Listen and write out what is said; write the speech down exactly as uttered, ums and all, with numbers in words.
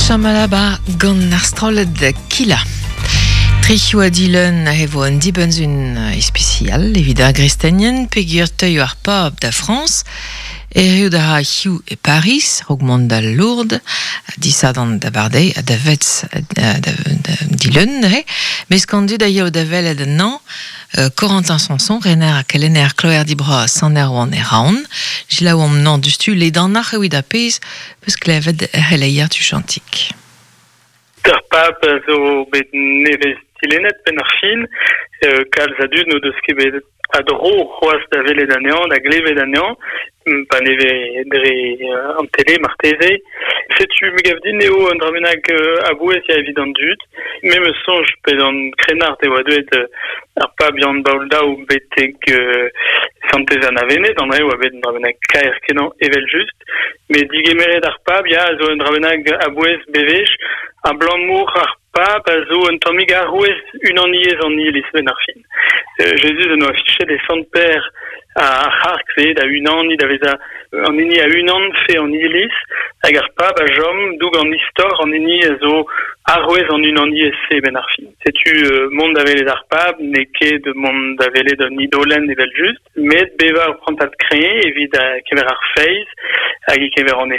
Chamalaba gant ar strollad Kila. Tric'hioù a dileun a evo un dibenzun ispecial evit ar gristenien peogwir teuio ar pab da Frañs erru da ra hiziv e Paris, raok mont da Lourdes, disadorn da bardeiz ha da Vetz da, da, da dilun neuze. Mes kandud a yeo da welet anezhañ, euh, Corentin Sanson, rener ha kelenner kloerdi bras Sant Erwan e Raon, Jilaouomp nañ dustu ledanoc'h evit ar pezh peus klevet er c'heleier tuchantik. Ar pab zo bet nevez dilennet benn ar fin, euh, kalz a dud n'o deus ket bet a dro c'hoazh da welet anezhañ, da glevet anezhañ, pa neve dre euh, an tele marteze. Setu me gav din eo un dra bennak euh, a-bouez ya evit an dud. Me 'm eus soñj pe an krennard e oa deuet euh, ar pab Yann Baol Daou betek euh, Santez Anna Wened, an dra oa bet un dra bennak kaer kenañ evel just. Met digemeret ar pab, ya, a zo un dra bennak a-bouez bewech, abalamour ar pab a zo un tammig arouez unaniezh an iliz benn ar fin. Euh, Jezuz en doa fichet e Sant Per ar c'harg-se da unaniñ da vezañ an hini a unanfe an iliz hag ar pab a chom doug an istor an hini a zo arouez an unaniezh-se benn ar fin. Setu euh, mont da welet ar pab n'eo ket mont da welet un idolenn evel just, met bevañ ur prantad kreñv evit a kever ar feiz hag e kever an